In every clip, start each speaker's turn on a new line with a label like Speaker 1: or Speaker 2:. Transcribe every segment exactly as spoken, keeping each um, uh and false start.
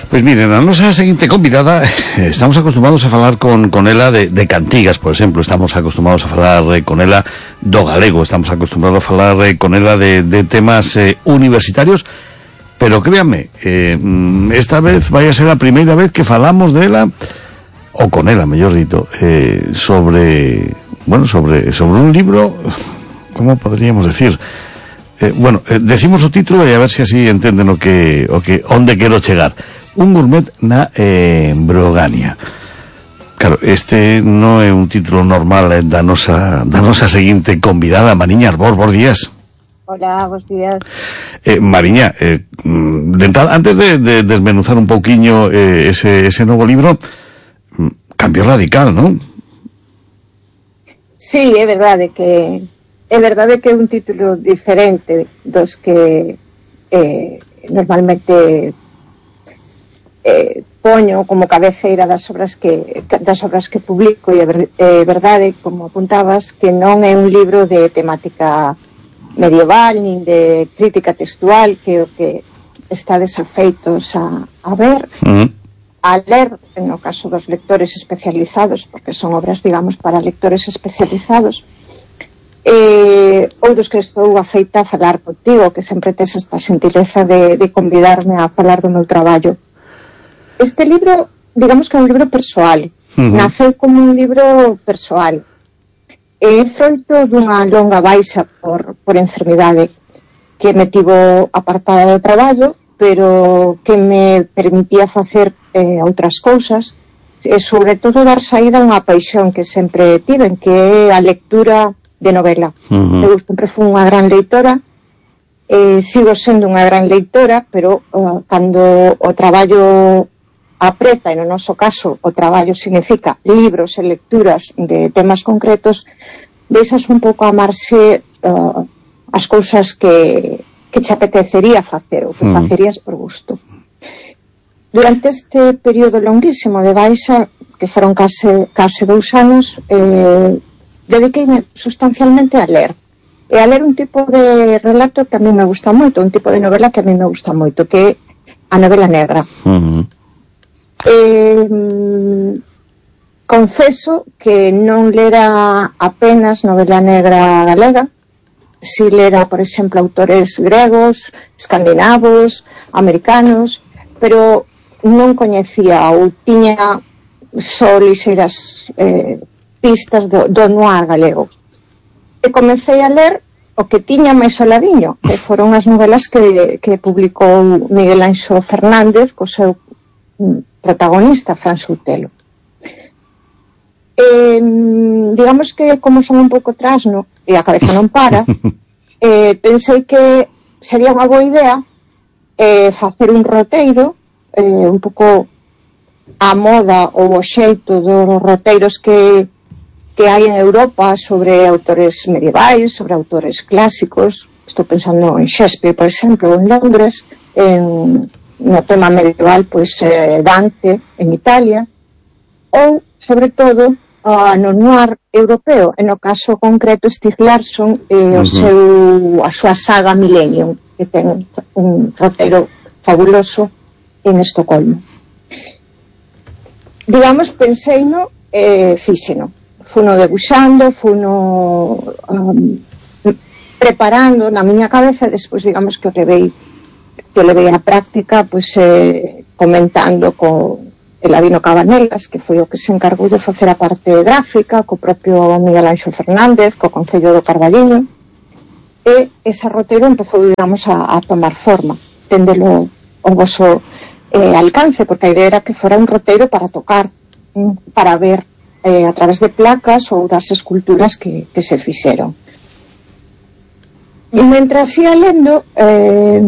Speaker 1: Pois miren, a nosa seguinte convidada, estamos acostumados a falar con, con ela de, de cantigas, por exemplo, estamos acostumados a falar eh, con ela do galego, estamos acostumados a falar eh, con ela de, de temas eh, universitarios, pero créanme, eh, esta vez vai a ser a primeira vez que falamos de ela, ou con ela, mellor dito, eh, sobre, bueno, sobre, sobre un libro, como podríamos decir, eh, bueno, eh, decimos o título e a ver se así entenden o que, o que, onde quero chegar. Un gourmet na eh, Brogania. Claro, este non é un título normal eh, da nosa da nosa seguinte convidada, Mariña Arbor. Bos días.
Speaker 2: Hola, bos días.
Speaker 1: Eh, Mariña, eh, de entrada, antes de, de desmenuzar un pouquiño eh, ese, ese novo libro, cambio radical, non?
Speaker 2: Sí, é verdade que é verdade que é un título diferente dos que eh, normalmente Eh, poño como cabeceira das obras que das obras que publico, e é ver, eh, verdade, como apuntabas, que non é un libro de temática medieval nin de crítica textual, que é o que está desafeitos a, a ver, uh-huh. a ler, no caso dos lectores especializados, porque son obras, digamos, para lectores especializados, eh, ou dos que estou afeita a falar contigo, que sempre tes esta xentileza de, de convidarme a falar do meu traballo. Este libro, digamos que é un libro persoal, uh-huh. naceu como un libro persoal. É froito dunha longa baixa por, por enfermidade que me tivo apartada do traballo, pero que me permitía facer eh, outras cousas, e sobre todo dar saída a unha paixón que sempre tiven, que é a lectura de novela. Uh-huh. Eu sempre fui unha gran leitora, eh, sigo sendo unha gran leitora, pero uh, cando o traballo apreta, e no noso caso o traballo significa libros e lecturas de temas concretos, deixas un pouco a marxe uh, as cousas que, que te apetecería facer ou que mm. facerías por gusto. Durante este período longuísimo de baixa, que foron case, case dous anos, eh, dediqueime sustancialmente a ler, e a ler un tipo de relato que a mí me gusta moito, un tipo de novela que a mí me gusta moito, que é a novela negra. Mm-hmm. Eh, confeso que non lera apenas novela negra galega, si lera, por exemplo, autores gregos, escandinavos, americanos, pero non coñecía ou tiña só lixeiras eh, pistas do, do noir galego. E comecei a ler o que tiña máis soladiño, que foron as novelas que, que publicou Miguel Anxo Fernández co seu protagonista, Fran Soutelo. Eh, digamos que, como son un pouco trasno e a cabeza non para, eh, pensei que sería unha boa idea eh, facer un roteiro eh, un pouco a moda ou o xeito dos roteiros que, que hai en Europa sobre autores medievais, sobre autores clásicos. Estou pensando en Shakespeare, por exemplo, en Londres, en no tema medieval, pois eh, Dante en Italia, ou, sobre todo, uh, no noir europeo, en o caso concreto Stieg Larsson e eh, uh-huh. o seu, a súa saga Millennium, que ten un roteiro fabuloso en Estocolmo. Digamos, pensei no eh, fíxeno, funo debuxando, funo um, preparando na miña cabeza, e despois, digamos, que o levei que levei a práctica, pois, eh, comentando con Eladino Cabanelas, que foi o que se encargou de facer a parte gráfica, co propio Miguel Anxo Fernández, co Concello do Carballiño, e ese roteiro empezou, digamos, a, a tomar forma, tendelo o voso eh, alcance, porque a idea era que fora un roteiro para tocar, para ver eh, a través de placas ou das esculturas que, que se fixeron. E mentras ia lendo, eh,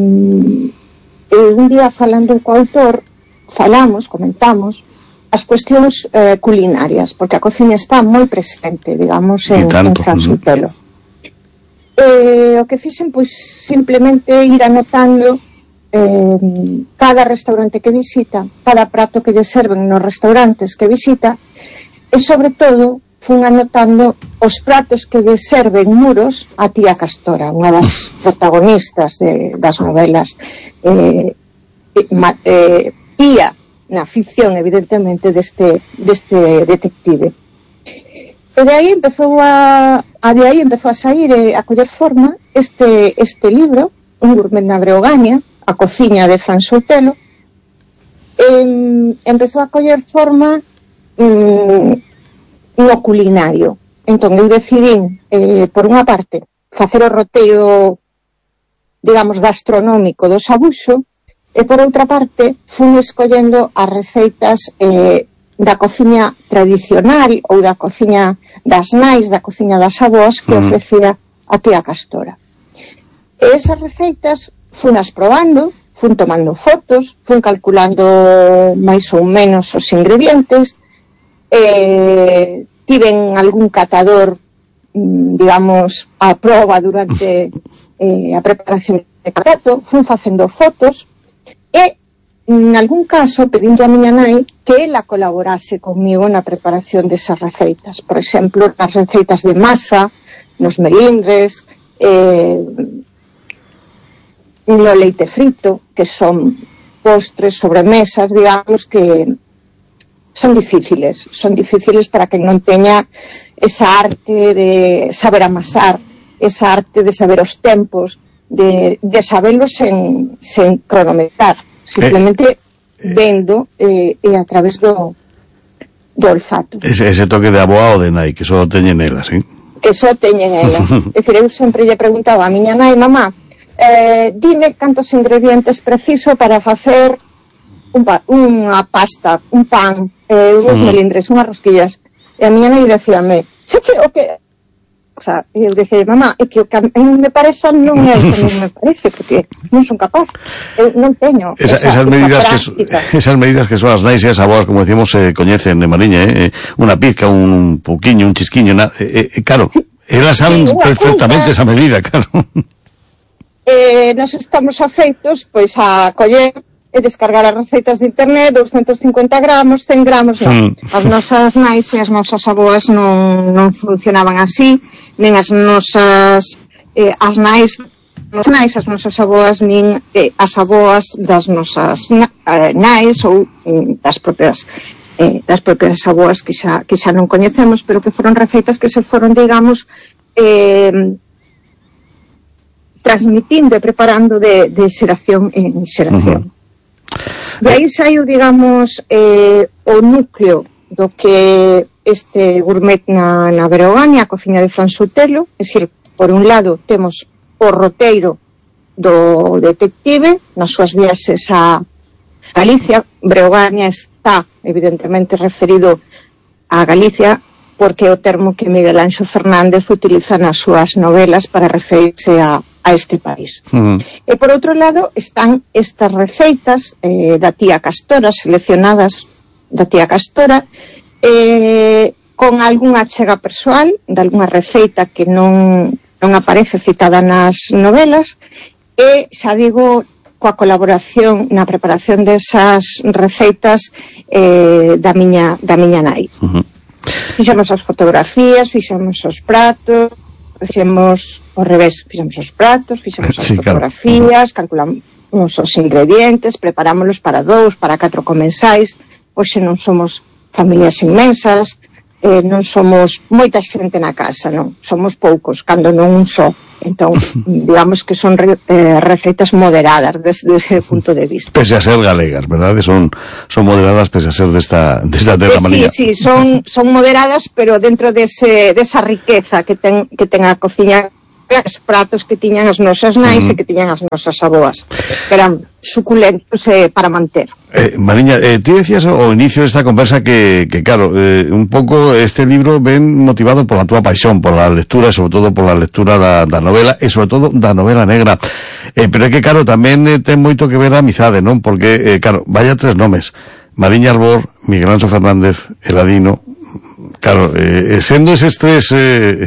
Speaker 2: un día falando co autor, falamos, comentamos as cuestións eh, culinarias, porque a cociña está moi presente, digamos, en, en Fran Soutelo. Eh, o que fixen, pois, simplemente ir anotando eh, cada restaurante que visita, cada prato que lle serven nos restaurantes que visita, e, sobre todo, fun anotando os pratos que lle serven muros a tía Castora, unha das protagonistas de, das novelas eh, eh, ía na ficción, evidentemente, deste, deste detective. E de aí empezou a, a de aí empezou a sair e a coller forma este, este libro, Un gourmet na Breogaña, a cociña de Fran Soutelo. Eh, empezou a coller forma mm, no culinario. Entón eu decidín, eh, por unha parte, facer o roteiro, digamos, gastronómico do Sabuxo, e por outra parte fun escollendo as receitas eh, da cociña tradicional ou da cociña das nais, da cociña das avós que ofrecía a tía Castora. E esas receitas funas probando, fun tomando fotos, fun calculando máis ou menos os ingredientes, e tiven algún catador, digamos, a proba durante eh, a preparación de prato, fun facendo fotos, e en algún caso pedindo a miña nai que ela colaborase comigo na preparación desas receitas. Por exemplo, nas receitas de masa, nos melindres, eh, no leite frito, que son postres, sobremesas, digamos, que son difíciles. Son difíciles para quen non teña esa arte de saber amasar, esa arte de saber os tempos, de, de saberlos sen, sen cronometrar. Simplemente eh, vendo eh, e a través do, do olfato.
Speaker 1: Ese, ese toque de aboa ou de nai, que só teñen elas, eh?
Speaker 2: Que só teñen elas. É dicir, eu sempre lle preguntaba a miña nai, mamá, eh, dime cantos ingredientes preciso para facer un pa, unha pasta, un pan, eh, uns mm. melindres, unhas rosquillas. E a miña nai decíame, che, che, o que... O sea, eu dicía, mamá, é que o que a mí me parece non é o que a mí me parece, porque non son capaz, eu non teño
Speaker 1: esa,
Speaker 2: esa,
Speaker 1: esas, medidas
Speaker 2: esa
Speaker 1: que, esas medidas que son as nais e as aboas, como decimos, se eh, coñecen de Mariña, eh? Unha pizca, un pouquiño, un chisquiño, na, eh, eh, claro, sí, elas saben sí, perfectamente esa medida, claro.
Speaker 2: Eh, nos estamos afeitos, pois, a coller e descargar as receitas de internet, doscientos cincuenta gramos, cen gramos, non. Mm. As nosas nais e as nosas aboas non, non funcionaban así, nen as nosas eh, as nais, as nais, as nosas aboas, nin eh, as aboas das nosas na, eh, nais ou eh, das propias eh, das propias aboas que xa, que xa non coñecemos, pero que foron receitas que se foron, digamos, eh, transmitindo e preparando de, de xeración en xeración. Uh-huh. De aí saiu, digamos, eh, o núcleo do que este gourmet na, na Breogaña, a cociña de Fran Soutelo. É dicir, por un lado temos o roteiro do detective nas súas viaxes a Galicia. Breogaña está evidentemente referido a Galicia porque é o termo que Miguel Anxo Fernández utiliza nas súas novelas para referirse a a este país. Uh-huh. E por outro lado están estas receitas eh, da tía Castora, seleccionadas da tía Castora, eh, con algunha achega persoal de algunha receita que non, non aparece citada nas novelas, e xa digo, coa colaboración na preparación desas receitas eh, da miña da miña nai. Uh-huh. Fixemos as fotografías, fixemos os pratos, fixemos ao revés, fixemos os pratos, fixemos as sí, fotografías, claro. Calculamos os ingredientes, preparámolos para dous, para catro comensais. Hoxe non somos familias inmensas, eh, non somos moita xente na casa, non, somos poucos, cando non un só. Entón, digamos que son re, eh, receitas moderadas desde ese punto de vista.
Speaker 1: Pese a ser galegas, verdade? Son, son moderadas pese a ser desta, desta terra manía.
Speaker 2: Sí, sí, son, son moderadas, pero dentro dese, desa riqueza que ten, que ten a cociña, os pratos que tiñan as nosas nais uh-huh. e que tiñan as nosas aboas, que eran suculentos eh, para manter.
Speaker 1: Eh, Mariña, eh, ti decías ao inicio desta conversa que, que claro, eh, un pouco este libro ven motivado pola túa paixón, pola lectura, e sobre todo pola lectura da, da novela, e sobre todo da novela negra. Eh, pero é que, claro, tamén eh, ten moito que ver a amizade, non? Porque, eh, claro, vaya tres nomes, Mariña Arbor, Miguel Anxo Fernández, Eladino. Claro, eh, sendo eses tres, eh,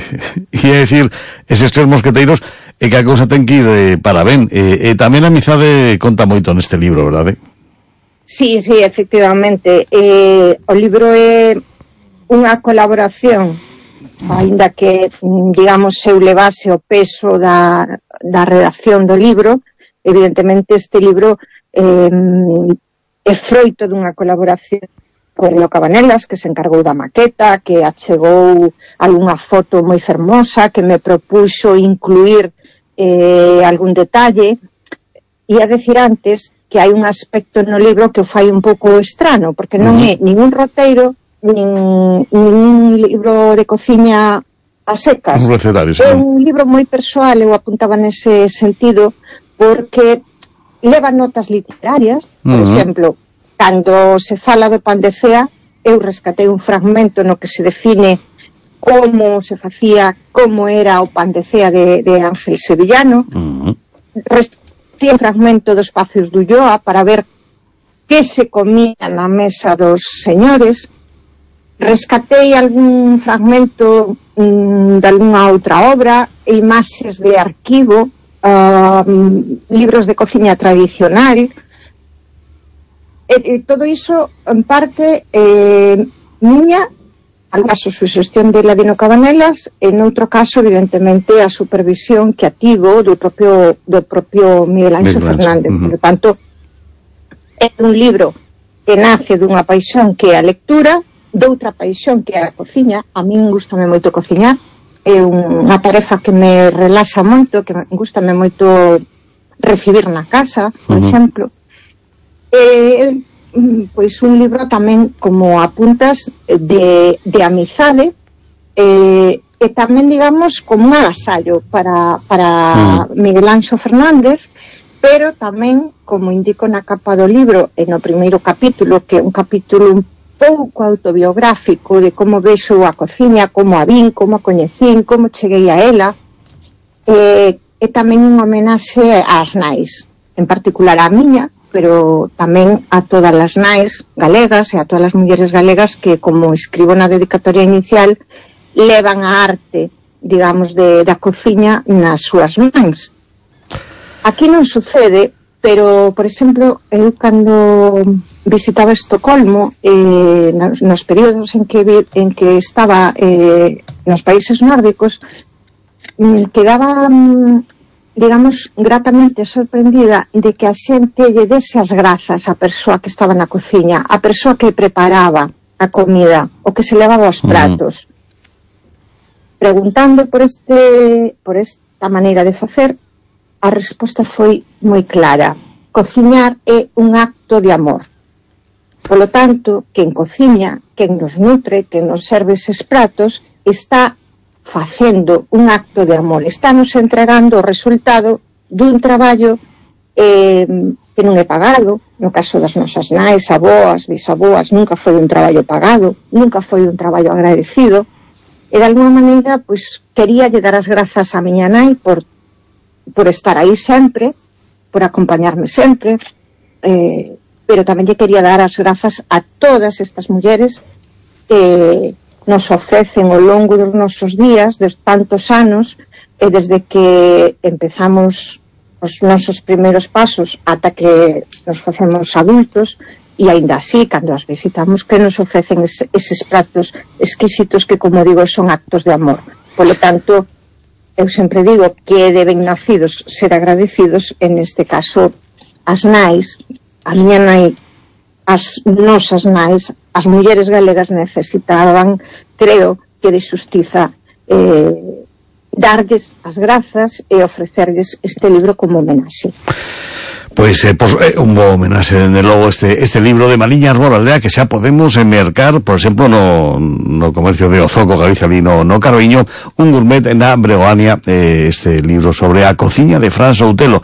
Speaker 1: ia decir, eses tres mosqueteiros, é que a cousa ten que ir eh, para ben. E eh, eh, tamén a amizade conta moito neste libro, verdade?
Speaker 2: Sí, sí, efectivamente. Eh, o libro é unha colaboración, ainda que, digamos, eu levase o peso da, da redacción do libro. Evidentemente este libro eh, é é froito dunha colaboración con Elo Cabanelas, que se encargou da maqueta, que achegou algunha foto moi fermosa, que me propuxo incluir eh, algún detalle. E a decir antes que hai un aspecto no libro que o fai un pouco estrano, porque non é ningún roteiro, nin, ningún libro de cociña a secas.
Speaker 1: Un recetario, sí.
Speaker 2: É un libro moi persoal, eu apuntaba nese sentido, porque leva notas literarias, por uh-huh. exemplo, cando se fala do pan de cea, eu rescatei un fragmento no que se define como se facía, como era o pan de cea de, de Ángel Sevillano. Uh-huh. Rescatei un fragmento dos Pacios de Ulloa para ver que se comía na mesa dos señores. Rescatei algún fragmento mm, de algunha outra obra, imaxes de arquivo, uh, libros de cociña tradicional. E, e todo iso, en parte, eh, miña, al caso, suxestión de Ladino Cabanelas, e noutro caso, evidentemente, a supervisión que ativo do propio, do propio Miguel Ángel Fernández. Uh-huh. Por tanto, é un libro que nace dunha paixón que é a lectura, doutra paixón que é a cociña. A min gustame moito cociñar, é unha tarefa que me relaxa moito, que me gustame moito recibir na casa, por uh-huh. exemplo. Eh, pois un libro tamén, como apuntas, de, de amizade, eh, e tamén, digamos, como un agasallo para, para mm. Miguel Ángel Fernández, pero tamén, como indico na capa do libro, e no primeiro capítulo, que é un capítulo un pouco autobiográfico de como vexo a cociña, como a vin, como a coñecín, como cheguei a ela, eh, e tamén unha homenaxe ás nais, en particular a miña, pero tamén a todas as nais galegas e a todas as mulleres galegas que, como escribo na dedicatoria inicial, levan a arte, digamos, de, da cociña nas súas mans. Aquí non sucede, pero, por exemplo, eu cando visitaba Estocolmo, eh, nos, nos períodos en que, vi, en que estaba eh, nos países nórdicos, mm, quedaba... Mm, digamos, gratamente sorprendida de que a xente lle dese as grazas á persoa que estaba na cociña, a persoa que preparaba a comida, o que se levaba aos pratos. Uh-huh. Preguntando por este por esta maneira de facer, a resposta foi moi clara. Cociñar é un acto de amor. Polo tanto, quen cociña, quen nos nutre, quen nos serve eses pratos, está facendo un acto de amor, estamos entregando o resultado dun traballo eh, que non é pagado. No caso das nosas nais, aboas, bisaboas, nunca foi un traballo pagado, nunca foi un traballo agradecido, e de alguma maneira, pois, quería lle dar as grazas a miña nai por, por estar aí sempre, por acompañarme sempre, eh, pero tamén lle quería dar as grazas a todas estas mulleres que nos ofrecen ao longo dos nosos días, de tantos anos, e desde que empezamos os nosos primeiros pasos ata que nos facemos adultos, e aínda así, cando as visitamos, que nos ofrecen es, eses pratos exquisitos que, como digo, son actos de amor. Polo tanto, eu sempre digo que deben nacidos ser agradecidos, en este caso, as nais, a miña nai, as nosas nais, as mulleres galegas necesitaban, creo, que de xustiza eh, darlles as grazas e ofrecerlles este libro como homenaxe.
Speaker 1: Pois eh, pues, eh, un bo homenaxe, dende logo, este, este libro de Mariña Arbor Aldea, que xa podemos mercar, por exemplo, no, no comercio de Ozoco, Galicia, ali no, no Carballiño, un gourmet na Breoania, eh, este libro sobre a cociña de Fran Soutelo.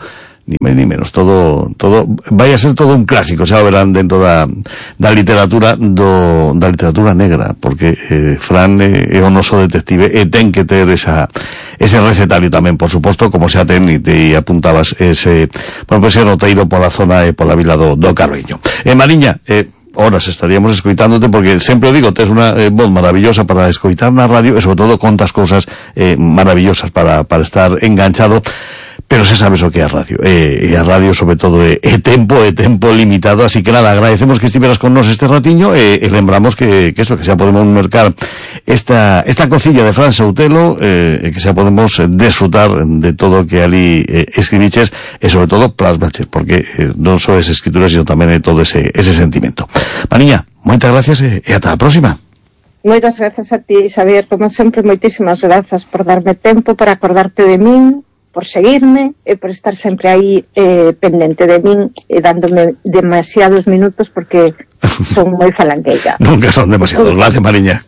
Speaker 1: Ni máis ni menos, todo, todo, vai a ser todo un clásico, xa verán, dentro da, da literatura do, da literatura negra, porque eh, Fran é, é o noso detective e ten que ter esa, ese recetario tamén, por suposto, como xa ten, e te apuntabas ese, bueno, ese roteiro pola zona e pola vila do, do Carballiño. Eh, Mariña, eh, horas estaríamos escoitándote, porque sempre digo, tes unha eh, voz maravillosa para escoitar na radio e sobre todo contas cousas eh, maravillosas para, para estar enganchado. Pero xa sabes o que é a radio, e, e a radio sobre todo é, é tempo, é tempo limitado, así que nada, agradecemos que estiveras con nos este ratiño, e, e lembramos que, que eso, que xa podemos mercar esta, esta cocilla de Fran Soutelo, e que xa podemos desfrutar de todo o que ali eh, escribiches, e sobre todo plasmaches, porque eh, non só es escritura, sino tamén é todo ese, ese sentimento. Mariña, moitas gracias e, e ata a próxima.
Speaker 2: Moitas gracias a ti, Xavier, como sempre, moitísimas grazas por darme tempo, para acordarte de min, por seguirme e por estar sempre aí eh, pendente de min e dándome demasiados minutos, porque son moi falangueira.
Speaker 1: Nunca son demasiados. Gracias, Mariña.